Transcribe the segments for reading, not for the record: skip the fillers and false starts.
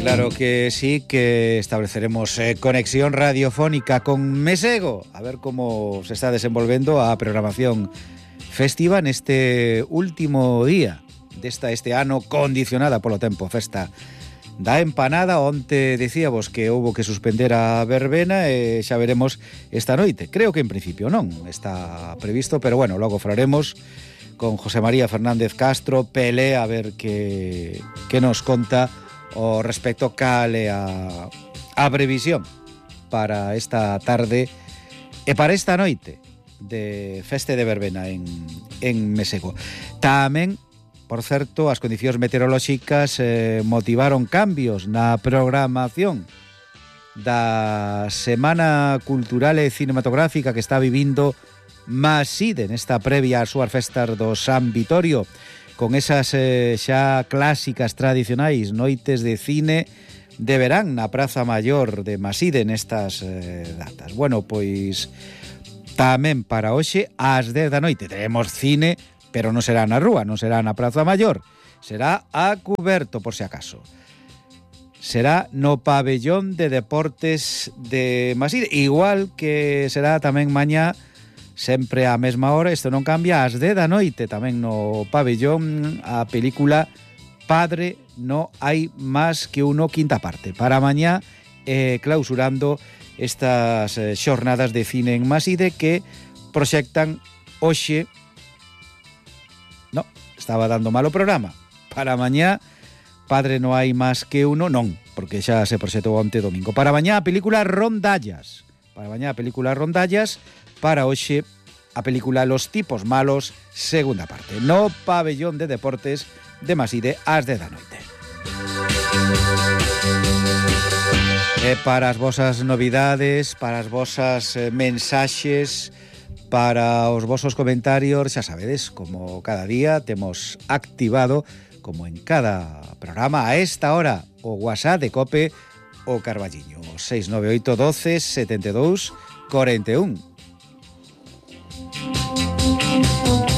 Claro que sí, que estableceremos conexión radiofónica con Mesego, a ver como se está desenvolvendo a programación festiva neste último día este ano condicionada polo tempo. Festa da empanada, onte dicíamos que houbo que suspender a verbena e xa veremos esta noite. Creo que en principio non está previsto, pero bueno, logo falaremos con José María Fernández Castro, Pelé, a ver que nos conta o respecto cal é a previsión para esta tarde e para esta noite de feste de verbena en Mesego. Tamén, por certo, as condicións meteorolóxicas motivaron cambios na programación da Semana Cultural e Cinematográfica que está vivindo Maside nesta previa ás súas festas do San Vitorio, con esas xa clásicas tradicionais noites de cine de verán na Praza Maior de Maside nestas datas. Bueno, pois tamén para hoxe ás 10 da noite teremos cine, pero non será na rúa, non será na Praza Maior, será a cuberto por si acaso. Será no pabellón de deportes de Maside, igual que será tamén mañá sempre á mesma hora, isto non cambia, ás 10 da noite tamén no pabellón a película Padre no hai máis que uno, quinta parte. Para mañá clausurando estas xornadas de cine en Maside que proxectan hoxe. No, estaba dando mal o programa. Para mañá Padre no hai máis que uno, non, porque xa se proxectou onte domingo. Para mañá a película Rondallas. Para hoxe a película Los tipos malos, segunda parte, no pabellón de deportes de Maside ás 10 da noite. E para as vosas novidades, para as vosas mensaxes, para os vosos comentarios, xa sabedes, como cada día temos activado, como en cada programa, a esta hora, o WhatsApp de COPE o Carballiño, 698 12 72 41.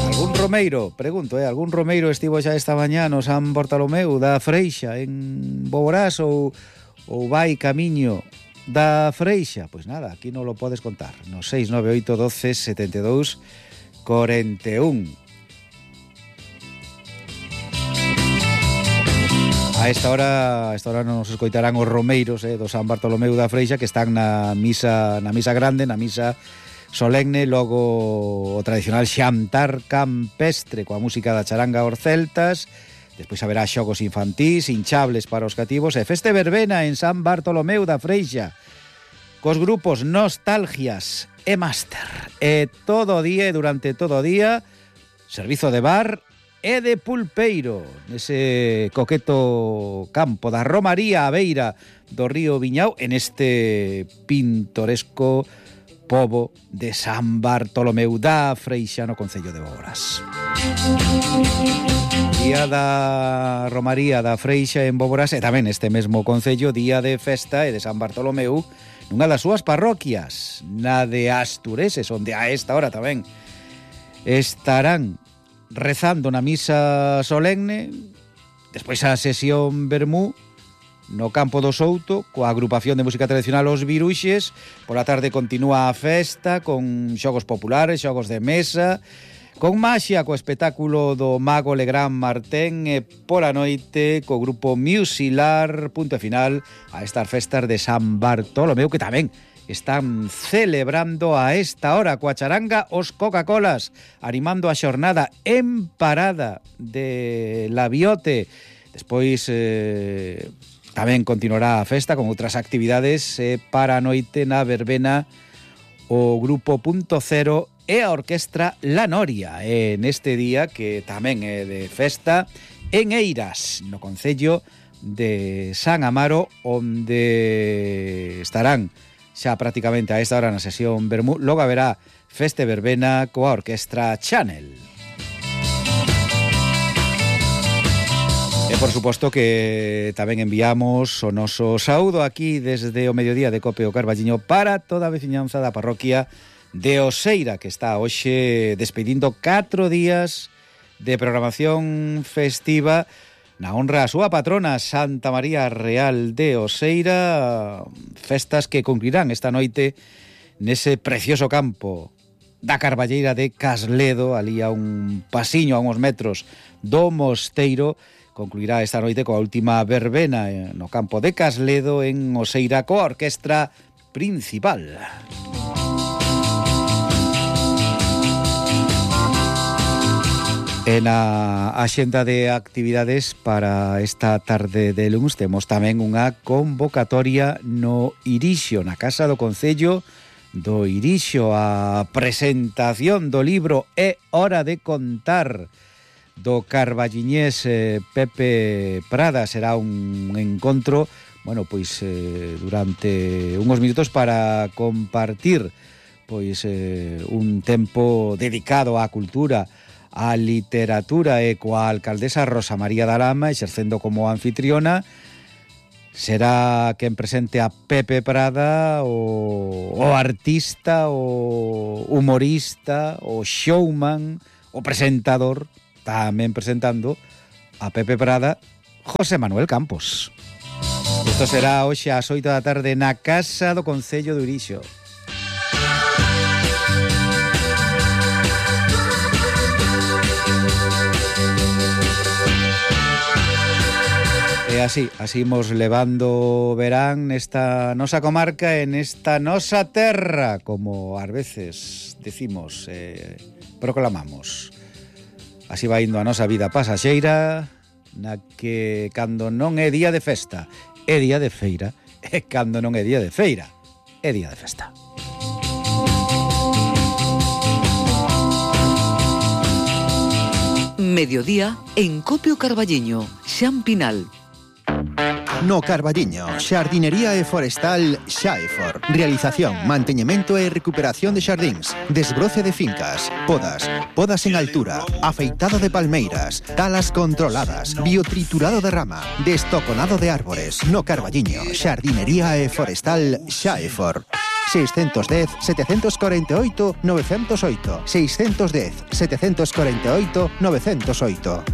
Algún romeiro, pregunto, algún romeiro estivo xa esta mañá no San Bartolomeu da Freixa en Boborás ou vai camiño da Freixa? Pois nada, aquí non lo podes contar, no 698 12 72 41. A esta hora nos escoitarán os romeiros do San Bartolomeu da Freixa que están na misa grande, na misa solemne, logo o tradicional xantar campestre coa música da charanga aos celtas, despois haberá xogos infantís, hinchables para os cativos e feste verbena en San Bartolomeu da Freixa cos grupos Nostalgias e Máster e todo o día, durante todo o día, servizo de bar e de pulpeiro nese coqueto campo da Romaría a beira do río Viñao en este pintoresco pobo de San Bartolomeu da Freixa no concello de Boborás. Día da Romaría da Freixa en Boborás e tamén este mesmo concello, día de festa e de San Bartolomeu nunha das súas parroquias, na de Astureses, onde a esta hora tamén estarán rezando na misa solemne, despois a sesión vermú no campo do Souto coa agrupación de música tradicional Os Viruxes. Pola tarde continúa a festa con xogos populares, xogos de mesa, con maxia, co espectáculo do mago Legrand Martén e pola noite co grupo Musilar, punto final a estas festas de San Bartolomeu que tamén están celebrando a esta hora coa charanga os Coca-Colas, animando a xornada en parada de Labiote. Despois tamén continuará a festa con outras actividades para a noite na verbena o grupo Punto Cero e a orquestra La Noria neste día que tamén é de festa en Eiras, no concello de San Amaro, onde estarán xa prácticamente a esta hora na sesión vermú. Logo haberá feste verbena coa orquestra Chanel. E por suposto que tamén enviamos o noso saúdo aquí desde o mediodía de COPE o Carballiño para toda a veciñanza da parroquia de Oseira, que está hoxe despedindo 4 días de programación festiva na honra a súa patrona Santa María Real de Oseira, festas que concluirán esta noite nese precioso campo da Carballeira de Casledo, ali a un pasiño, a uns metros do mosteiro. Concluirá esta noite coa última verbena no campo de Casledo en Oseira coa orquestra principal. En a axenda de actividades para esta tarde de luns temos tamén unha convocatoria no Irixo, na Casa do Concello do Irixo, a presentación do libro É hora de contar do carballiñés Pepe Prada. Será un encontro, bueno, pois durante uns minutos para compartir pois un tempo dedicado á cultura, a literatura, e coa alcaldesa Rosa María da Lama exercendo como anfitriona. Será quen presente a Pepe Prada, o artista, o humorista, o showman, o presentador, tamén presentando a Pepe Prada, José Manuel Campos. Isto será hoxe ás 8 da tarde na Casa do Concello do Irixo. E así imos levando verán nesta nosa comarca, en esta nosa terra, como ás veces decimos, proclamamos. Así vai indo a nosa vida pasaxeira, na que cando non é día de festa, é día de feira, e cando non é día de feira, é día de festa. Mediodía en Copio Carballiño, Xan Pinal. No Carballiño, xardinería e forestal Xaefor. Realización, manteñemento e recuperación de xardíns, desbroce de fincas, podas en altura, afeitado de palmeiras, talas controladas, biotriturado de rama, destoconado de árbores. No Carballiño, xardinería e forestal Xaefor. 610 748 908. 610 748 908.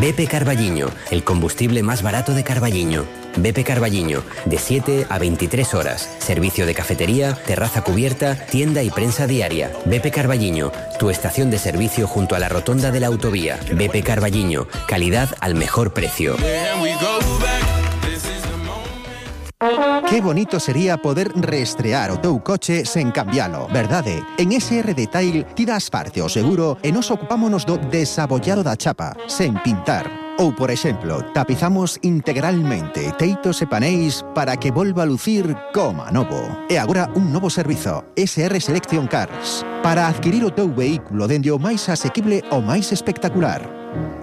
BP Carballiño, el combustible más barato de Carballiño. BP Carballiño, de 7 a 23 horas. Servicio de cafetería, terraza cubierta, tienda y prensa diaria. BP Carballiño, tu estación de servicio junto a la rotonda de la autovía. BP Carballiño, calidad al mejor precio. Qué bonito sería poder reestrear o teu coche sen cambialo, verdade? En SR Detail ti das parte ao seguro e nos ocupámonos do desabollado da chapa, sen pintar. Ou, por exemplo, tapizamos integralmente teitos e paneis para que volva a lucir como novo. E agora un novo servizo, SR Selection Cars, para adquirir o teu vehículo dende o máis asequible ao máis espectacular.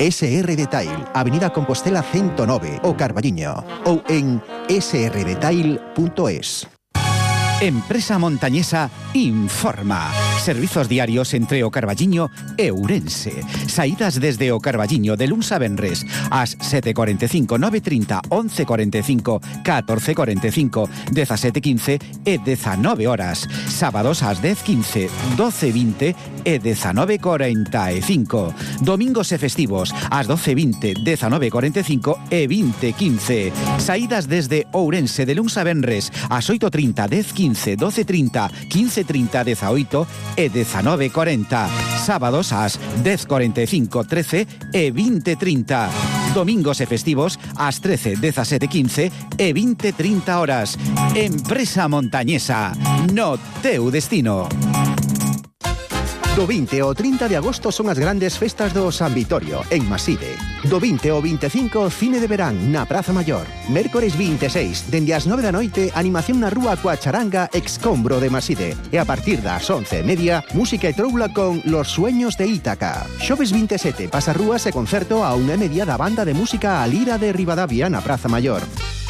SR Detail, Avenida Compostela 109, o Carballiño, ou en srdetail.es. Empresa Montañesa informa. Servizos diarios entre o Carballiño e Ourense. Saídas desde o Carballiño de luns a venres ás 7:45, 9:30, 11:45, 14:45, 17:15 e 19 horas. Sábados ás 10:15, 12:20 e 19:45. Domingos e festivos ás 12:20, 19:45 e 20:15. Saídas desde Ourense de luns a venres ás 8:30, 10:15, 12:30, 15:30, 18 e 19:40. Sábados ás 10:45, 13 e 20:30. Domingos e festivos ás 13, 17:15 e 20:30 horas. Empresa Montañesa, no teu destino. Do 20 ao 30 de agosto son as grandes festas do San Vitorio, en Maside. Do 20 ao 25, cine de verán na Praza Maior. Mércores 26, dende as 9 da noite, animación na rúa coa charanga Excombro de Maside. E a partir das 11:30, música e troula con Los Sueños de Ítaca. Xoves 27, pasarrúas e concerto a 1:30 da banda de música A Lira de Ribadavia na Praza Maior.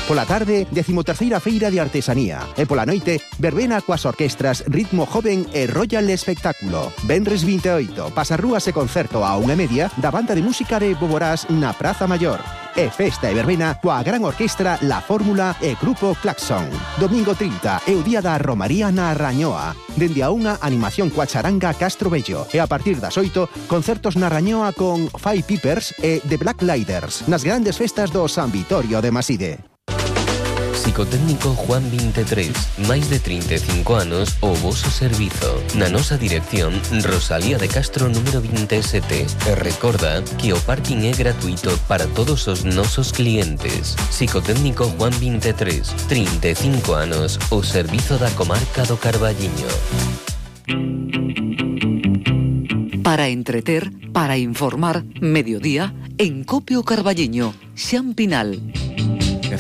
Pola tarde, 13ª Feira de Artesanía. E pola noite, verbena coas orquestras Ritmo Joven e Royal Espectáculo. Venres 28, pasarrúas e concerto a 1:30 da banda de música de Boborás na Praza Maior. E festa e verbena coa gran orquestra La Fórmula e Grupo Claxon. Domingo 30 é o día da Romaría na Rañoa. Dende a unha, animación coa charanga Castro Bello. E a partir das 8, concertos na Rañoa con Five Pipers e The Black Lighters nas grandes festas do San Vitorio de Maside. Psicotécnico Juan 23, máis de 35 anos o voso servizo. Na nosa dirección, Rosalía de Castro número 27. E recorda que o parking é gratuito para todos os nosos clientes. Psicotécnico Juan 23, 35 anos, o servizo da comarca do Carballiño. Para entreter, para informar, mediodía, en Copio Carballiño, Xan Pinal.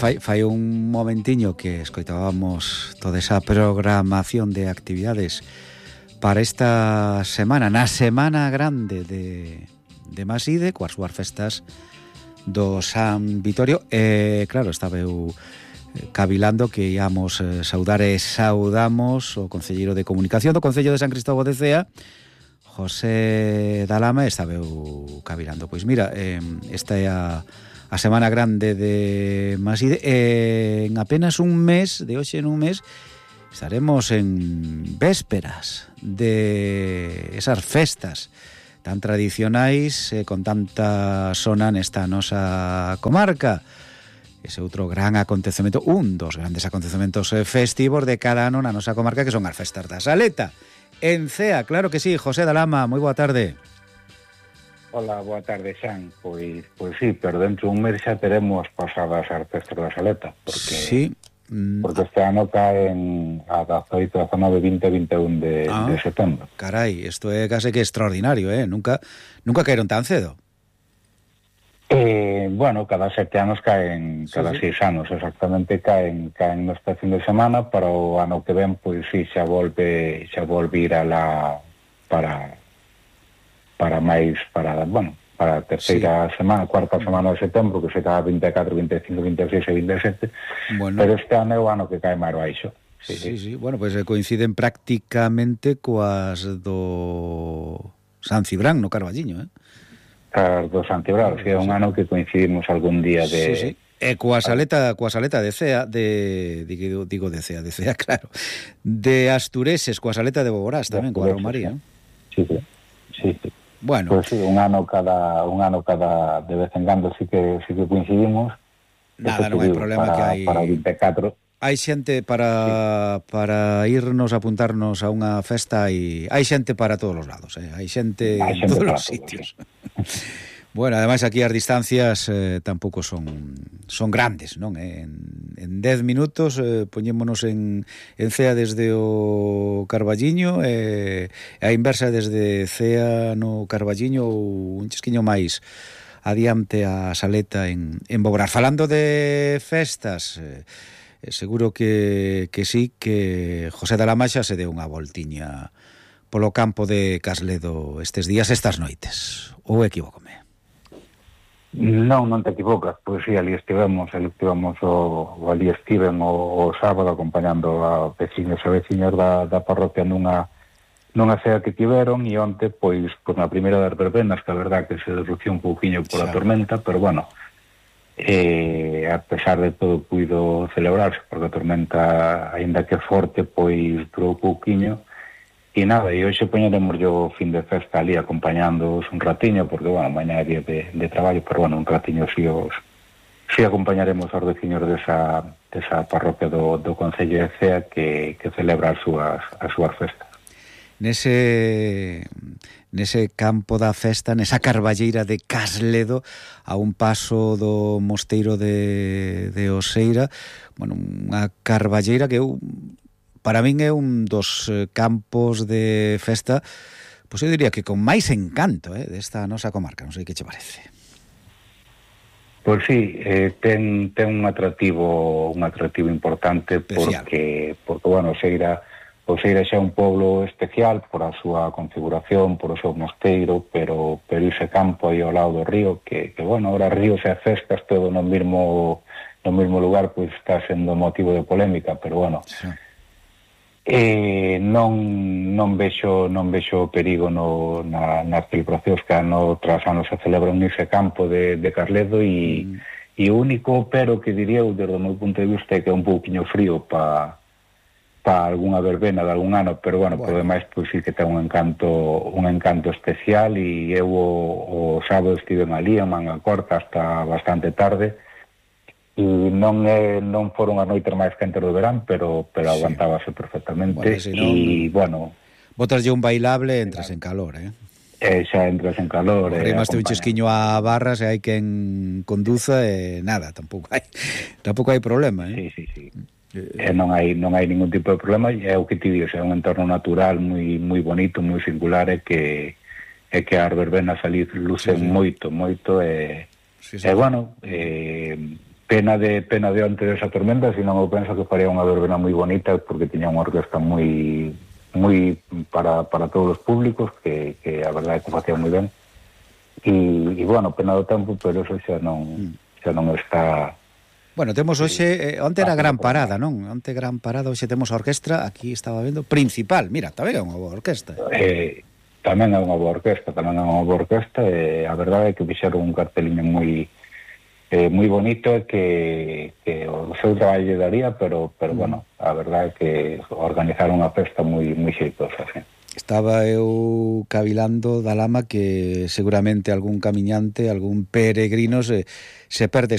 Fai un momentiño que escoitábamos toda esa programación de actividades para esta semana, na Semana Grande de Maside, coas súas festas do San Vitorio. Claro, estaba eu cavilando que íamos saudar e saudamos o concelleiro de comunicación do Concello de San Cristóbal de Cea, José Dalama. Estaba eu cavilando. Pois mira, esta é a Semana Grande de Maside. En apenas un mes, de hoxe en un mes, estaremos en vésperas de esas festas tan tradicionais, con tanta sona nesta nosa comarca. Ese outro gran acontecemento, un dos grandes acontecementos festivos de cada ano na nosa comarca, que son as festas da Saleta en Cea. Claro que sí. José Dalama, moi boa tarde. Hola, boa tarde, Xan. Pois sí, pero dentro dun mes xa teremos pasadas as festas da Saleta, porque sí. Porque este ano caen a 18, 19, 20 e 21 de setembro. Carai, isto é case que extraordinario, Nunca caeron tan cedo. Bueno, cada 7 anos caen, cada 6 anos exactamente caen nesta fin de semana. Para o ano que ven, pois sí, xa volve ir a la para a terceira semana, cuarta semana de setembro, que se cae 24, 25, 26 e 27. Bueno, pero este ano é o ano que cae máis baixo. Sí. Bueno, pois coinciden prácticamente coas do San Cibrán no Carballiño, As do San Cibrán, é un ano que coincidimos algún día de... Sí. E coa saleta de Cea, digo de Cea, claro, de Astureses, coa saleta de Boborás tamén, coa Romaría. Sí. Bueno, pues sí, un ano cada de vez en cando sí que coincidimos. Nada, non hai problema que hai para 24. Hai xente para irnos a apuntarnos a unha festa, e hai xente para todos os lados, hai xente en todos os sitios. Sí. Bueno, ademais aquí as distancias tampouco son grandes, non? En 10 minutos poñémonos en Cea desde o Carballiño, e a inversa desde Cea no Carballiño, ou un chisquiño máis adiante a Saleta en Boborás. Falando de festas, seguro que sí, que José Dalama xa se deu unha voltiña polo campo de Casledo estes días, estas noites, ou equivócome? Non te equivocas, pois sí, ali estiven o sábado acompañando a veciños e veciñas da parroquia nunha cea que tiveron, e onte, pois na primeira das verbenas, que a verdad que se derrució un pouquiño por a tormenta, pero bueno, a pesar de todo puido celebrarse, porque a tormenta, aínda que forte, pois durou pouquiño. E nada, e hoxe poñeremos yo fin de festa ali acompañándoos un ratiño, porque, bueno, mañá é día de traballo, pero, bueno, un ratiño si acompañaremos aos veciños desa parroquia do Concello de Cea que celebra as súas festas. Nese campo da festa, nesa carballeira de Casledo, a un paso do mosteiro de Oseira, bueno, unha carballeira que para min é un dos campos de festa, pois eu diría que con máis encanto desta nosa comarca. Non sei que che parece. Pois sí, ten un atractivo importante, porque bueno, Oseira xa é un poblo especial por a súa configuración, por o seu mosteiro, pero ese campo aí ao lado do río, que bueno, ahora ríos e festas todo no mesmo lugar, pois está sendo motivo de polémica, pero bueno, sí. Non vexo perigo nas celebracións que ano tras ano se celebran nese campo de Casledo, e E o único pero que diría eu, desde o meu punto de vista, é que é un pouquiño frío para algunha verbena de algún ano, pero bueno, por demais, pois sí que ten un encanto especial, e eu o sábado estive ali en Manga Corta hasta bastante tarde, e non foron as noites máis quentes do verán, pero aguantábase perfectamente. Bueno, si non, e bueno, botaslle un bailable e entras en calor, xa entras en calor. Rimaste un chesquiño a barras e hai quen conduza e nada, tampouco hai problema, Sí. Non hai ningún tipo de problema, e é o que ti digo, é un entorno natural moi bonito, moi singular, e que as verbenas ali lucen moito, e bueno, pena de onte desa tormenta, senón eu penso que faría unha verbena moi bonita, porque tiña unha orquesta moi para todos os públicos, que a verdade é que facía moi ben, e bueno, pena do tempo, pero eso xa non está. Bueno, temos hoxe, onte era gran parada, non? Onte gran parada, hoxe temos a orquestra, aquí estaba vendo, principal, mira, tamén é unha boa orquesta. Tamén é unha boa orquesta, e a verdade é que fixeron un carteliño moi bonito, e que o seu traballo lle daría, pero bueno, a verdade é que organizaron unha festa moi xeitosa, sí. Estaba eu cavilando da lama que seguramente algún camiñante, algún peregrino se perde